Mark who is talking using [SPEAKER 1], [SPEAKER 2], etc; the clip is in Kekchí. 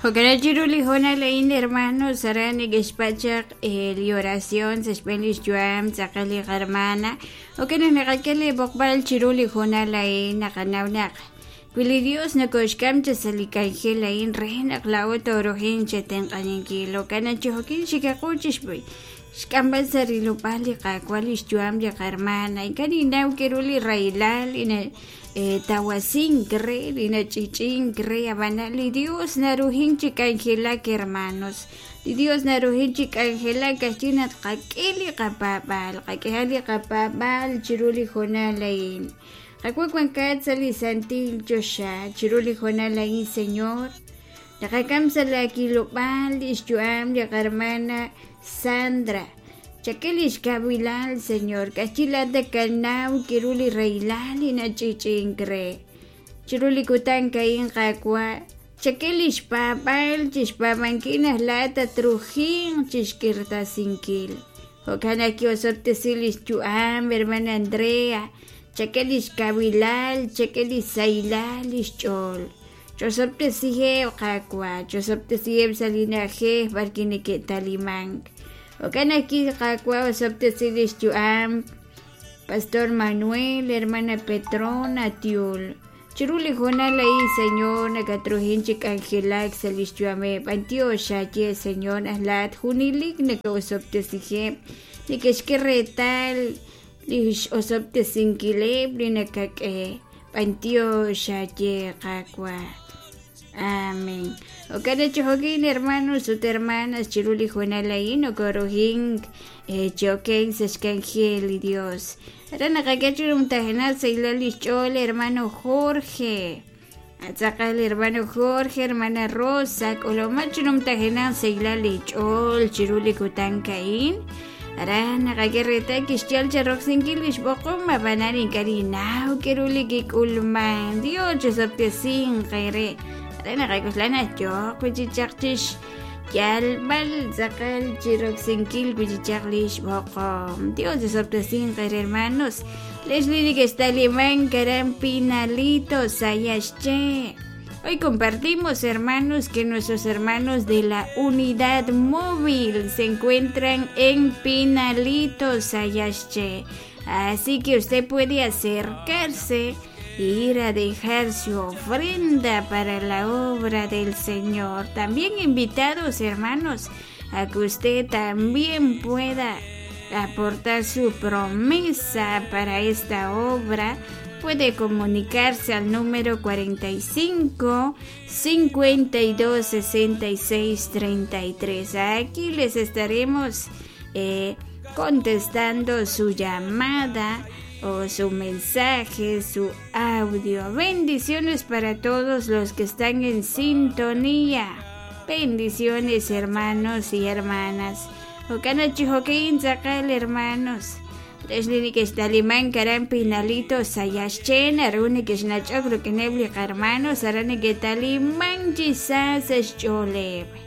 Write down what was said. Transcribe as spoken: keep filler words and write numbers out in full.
[SPEAKER 1] Jo'kan chiru li hoonal a'in hermanos aran neke'xpachaq li oración sa' xb'een lix yu'am tz'aqal li qarmana jo'kan naq naqak'e li b'oqb'al chiru li hoonal a'in naqanaw naq wi li Dios nokoxk'am cha sa' li k'anjel a'in re naq laa'o toorujin chetenq'aninkil jo'kan naq chijo'kin xikaqu chixb'i xk'amb'al sa' rilob'aal li Qaawa' lix yu'am li qarmana ink'a' ninnaw kiru li rahilal li na tawasink re li nach'ich'ink re ab'ana li Dios narujin chi k'anjelak hermanos li Dios narujin chi k'anjelak kajchi naq qak'e li qapaab'aal qak'eha li qapaab'aal chiru li hoonal a'in Qak'u wankat sa' li santil choxa chiru li hoonal a'in Señor naqak'am sa' la kilob'aal lix yu'am li qarmana Sandra chak'e lix kawilal Señor kajchi laat nakanaw kiru li rahilal li nach'ich'ink re chiru li kutan a'in Qaawa' chak'e lix paab'aal chixpaab'ankil naq laat tatrujinq chixk'irtasinkil jo'kan naq ki'osob'tesi lix yu'am hermana Andrea chak'e lix kawilal chak'e lix sahilal lix ch'ool ch'osob'tesiheb' Qaawa' ch'osob'tesiheb' sa' li na'ajej b'arwi' neke'talimank jo'kan naq Qaawa' osob'tesi lix yu'am Pastor Manuel hermana Petrona Tiul chiru li hoonal a'in Señor nakatrujin chi k'anjelak sa' lix yu'ameb' b'antiox xaye Señor naq laat junelik naka'osob'tesiheb' neke'xk'e reetal lix osob'tesinkileb' li nakak'e b'antiox xaye Qaawa' Amén. Jo'kan naq chijo'kin hermanos ut hermanas chiru li hoonal a'in nokorujink choken sa' xk'anjel li Dios. Aran naqak'e chiru mtajenal sa' lix ch'ool hermano Jorge. Atz'aqal hermano Jorge, hermana Rosa, k'uloma chiru mtajenal sa' li ch'ool chiru li kutan a'in. Aran naqak'e reetal kixyal charoksinkil lix b'oqom ab'anan ink'a' ninnaw kiru li kik'ulman. Dios chisob'tesinq re. Aran naqak'uxlan naq yo'q wichichaq chix yalb'al tz'aqal chiroksinkil wichichaq lix b'oqom. Dios chisob'tesinq re hermanos. Leslie neke'xtaliman karan Pinalito Sayaxché. Hoy compartimos, hermanos, que nuestros hermanos de la unidad móvil se encuentran en Pinalito, Sayaxché. Así que usted puede acercarse e ir a dejar su ofrenda para la obra del Señor. También invitados, hermanos, a que usted también pueda aportar su promesa para esta obra. Puede comunicarse al número cuarenta y cinco, cincuenta y dos, sesenta y seis, treinta y tres. Aquí les estaremos eh, contestando su llamada o su mensaje, su audio. Bendiciones para todos los que están en sintonía. Bendiciones, hermanos y hermanas. Jo'kan chijo'kin tz'aqal, hermanos. Leslie neke'xtaliman karan Pinalito Sayaxché naru neke'xnach'ok rik'ineb' li qarmanos aran neke'taliman chi sa sa' xch'ooleb'.